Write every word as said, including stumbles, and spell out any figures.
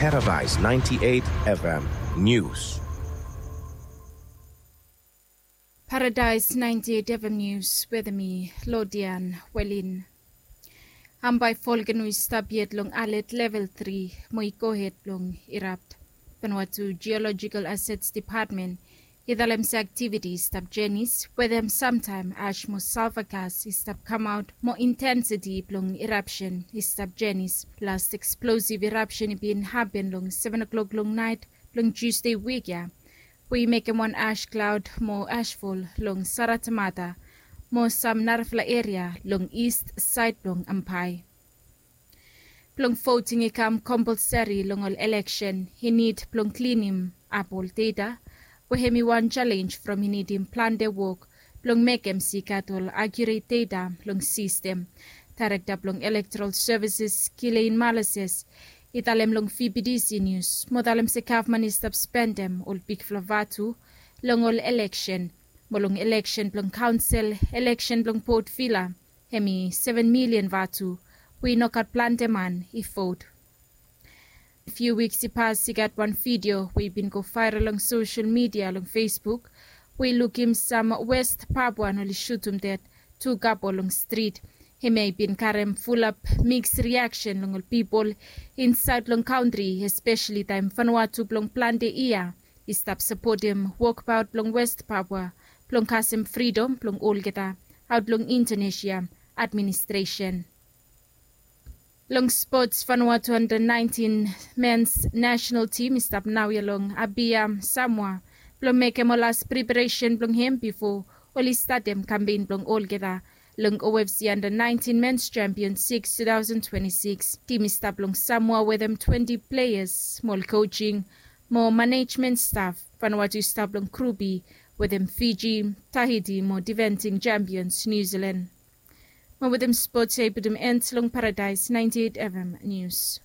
Paradise ninety-eight F M News. Paradise ninety-eight F M News weather mi Lodian Welin. Ambae volcano i stap yet long alert level three mo i gohed blong erupt. Vanuatu Geological Assets Department i talem se activity i stap jenis wetem samtaem ash mo sulfur gas i stap kamaot mo intensity blong eruption i stap jenis. Last explosive eruption i bin hapen long seven o'clock long naet blong Tuesday wik ya, we i mekem wan ash cloud mo ashfall long Saratamata mo sam narafala eria long east saed blong Ambae. Blong voting i kam compulsory long ol election i nid blong klinim ap ol data we hem i wan challenge from i nidim plante wok blong mekem se i gat ol accurate data long system. Director blong Electoral Services Gillian Malises i talem long V B T C News mo talem se gavman i stap spendem ol bigfala vatu long ol election mo long election blong kaonsel, election blong Port Vila, hem i seven million vatu we i no gat plante man i vot. Few wiks i pas i gat wan video we i bin go viral long social media long Facebook we i lukim sam West Papuan oli sutum ded tu kapo long strit. Hem ya i bin karem fulap mix reaction long ol pipol insaed long kantri, espeseli taem Vanuatu blong plante yia i stap sapotem wokbaot blong West Papua blong kasem fridom blong olgeta aot long Indonesia administresen. Long spots, Vanuatu under nineteen men's national team i stap naoia long Apia, Samoa blong mekem ol las preparesen blong hem bifo oli statem kampen blong olgeta long O F C under nineteen men's champion six two thousand twenty-six. Tim i stap long Samoa wetem twenty players mo ol coaching mo management staff. Vanuatu i stap long Group E wetem Fiji, Tahiti mo defending champions New Zealand. Mo wetem spots ya i putum end long Paradise ninety-eight F M News.